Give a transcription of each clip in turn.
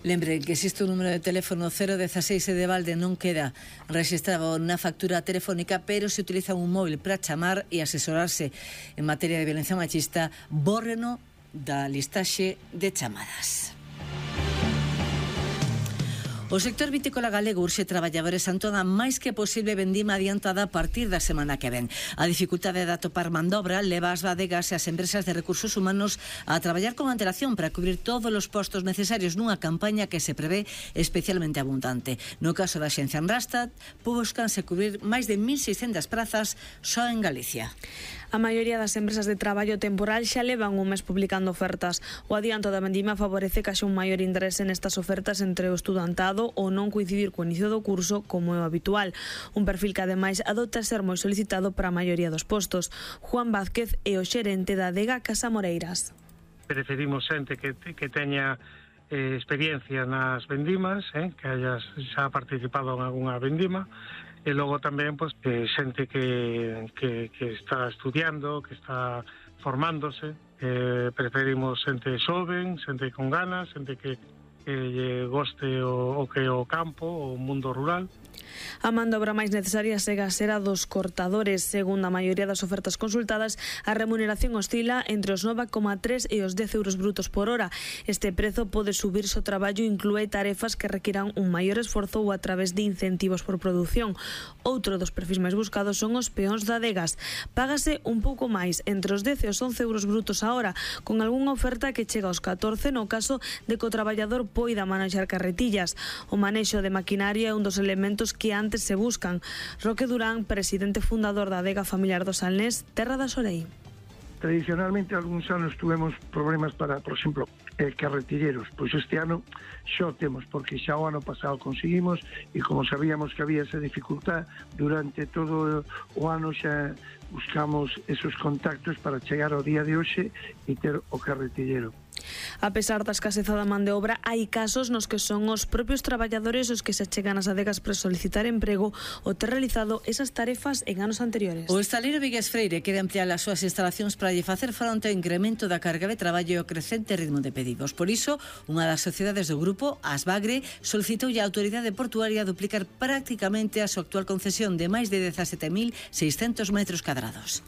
Lembre que existe un número de teléfono 016 e de balde non queda registrado na factura telefónica, pero se utiliza un móvil para chamar e asesorarse en materia de violencia machista, bórreno da listaxe de chamadas. O sector vitícola galego urxe traballadores en toda máis que posible vendima adiantada a partir da semana que ven. A dificultade de atopar man de obra leva as bodegas e as empresas de recursos humanos a traballar con antelación para cubrir todos os postos necesarios nunha campaña que se prevé especialmente abundante. No caso da Xencia en Rastad, buscanse cubrir máis de 1.600 prazas só en Galicia. A maioría das empresas de traballo temporal xa levan un mes publicando ofertas. O adianto da vendima favorece que haxa un maior interese nestas ofertas entre o estudantado ou non coincidir co inicio do curso como é o habitual. Un perfil que ademais adopta ser moi solicitado para a maioría dos postos. Juan Vázquez é o xerente da adega Casa Moreiras. Preferimos xente que teña experiencia nas vendimas, que haya xa participado en algunha vendima, e logo tamén xente que está estudiando, que está formándose. Preferimos xente xoven, xente con ganas, xente que goste o que é o campo, o mundo rural. A man de obra máis necesaria segue a ser a dos cortadores. Segundo a maioría das ofertas consultadas, a remuneración oscila entre os 9,3 e os 10 euros brutos por hora. Este prezo pode subir se o traballo inclúe tarefas que requiran un maior esforzo ou a través de incentivos por produción. Outro dos perfis máis buscados son os peóns de adegas. Págase un pouco máis, entre os 10 e os 11 euros brutos a hora, con algunha oferta que chega aos 14 no caso de que o traballador poida manejar carretillas. O manexo de maquinaria é un dos elementos que antes se buscan. Roque Durán, presidente fundador da adega familiar do Salnés, terra da Sorei. Tradicionalmente, algúns anos tuvemos problemas para, por exemplo, carretilleros. Pois este ano xa temos, porque xa o ano pasado conseguimos, e como sabíamos que había esa dificultad, durante todo o ano xa buscamos esos contactos para chegar ao día de hoxe e ter o carretillero. A pesar da escaseza da man de obra, hai casos nos que son os propios traballadores os que se achegan ás adegas para solicitar emprego ou ter realizado esas tarefas en anos anteriores. O estaleiro Vigues Freire quere ampliar as súas instalacións para lle facer fronte ao incremento da carga de traballo e o crecente ritmo de pedidos. Por iso, unha das sociedades do grupo, Asbagre, solicitou a autoridade portuaria duplicar prácticamente a súa actual concesión de máis de 17.600 metros cadrados.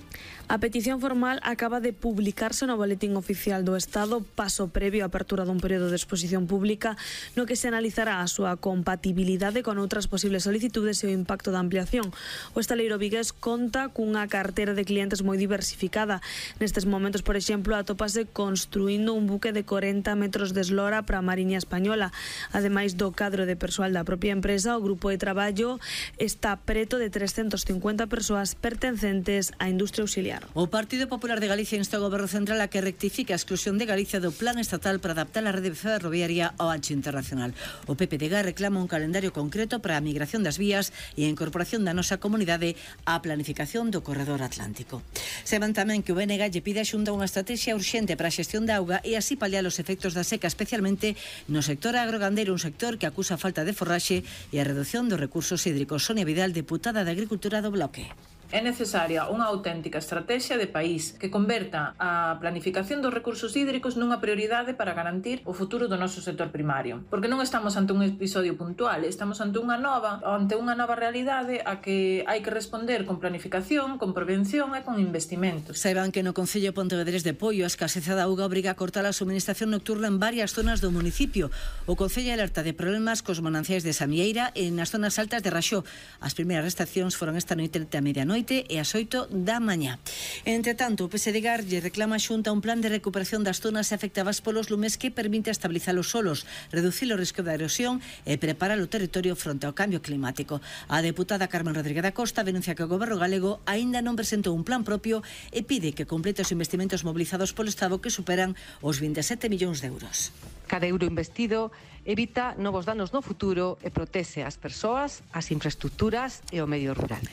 A petición formal acaba de publicarse no Boletín Oficial do Estado, paso previo á apertura dun período de exposición pública no que se analizará a súa compatibilidade con outras posibles solicitudes e o impacto da ampliación. O estaleiro vigués conta cunha cartera de clientes moi diversificada. Nestes momentos, por exemplo, atópase construindo un buque de 40 metros de eslora para a Mariña Española. Ademais do cadro de persoal da propia empresa, o grupo de traballo está preto de 350 persoas pertencentes á industria auxiliar. O Partido Popular de Galicia insta ao Goberno Central a que rectifique a exclusión de Galicia do Plan Estatal para adaptar a rede ferroviaria ao ancho internacional. O PPDG reclama un calendario concreto para a migración das vías e a incorporación da nosa comunidade á planificación do Corredor Atlántico. Saben tamén que o BNG lle pide a Xunta unha estrategia urxente para a xestión da auga e así paliar os efectos da seca, especialmente no sector agrogandeiro, un sector que acusa a falta de forraxe e a reducción dos recursos hídricos. Sonia Vidal, deputada de Agricultura do Bloque. É necesaria unha auténtica estrategia de país que converta a planificación dos recursos hídricos nunha prioridade para garantir o futuro do noso sector primario. Porque non estamos ante un episodio puntual, estamos ante unha nova realidade a que hai que responder con planificación, con prevención e con investimentos. Saiban que no Concello Pontevedrés de Poio a escaseza da auga obriga a cortar a suministración nocturna en varias zonas do municipio. O Concello alerta de problemas cos mananciais de Samieira e nas zonas altas de Raxó. As primeiras restriccións foron esta noite a medianoite e ás 8 da mañá. Entre tanto, o PSDG lle reclama a Xunta un plan de recuperación das zonas afectadas polos lumes que permite estabilizar os solos, reducir o risco de erosión e preparar o territorio fronte ao cambio climático. A deputada Carmen Rodríguez da Costa denuncia que o Goberno galego aínda non presentou un plan propio e pide que complete os investimentos mobilizados polo Estado que superan os 27 millóns de euros. Cada euro investido evita novos danos no futuro e protexe as persoas, as infraestructuras e o medio rural.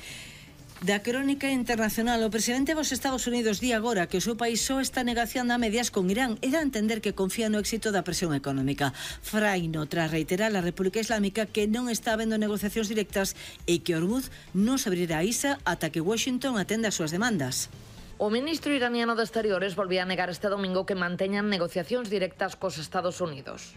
Da crónica internacional, o presidente dos Estados Unidos di agora que o seu país só está negociando a medias con Irán e dá a entender que confía no éxito da presión económica. Fraino, tras reiterar a República Islámica que non está habendo negociacións directas e que Hormuz non se abrirá a ISA ata que Washington atenda as súas demandas. O ministro iraniano de Exteriores volvía a negar este domingo que manteñan negociacións directas cos Estados Unidos.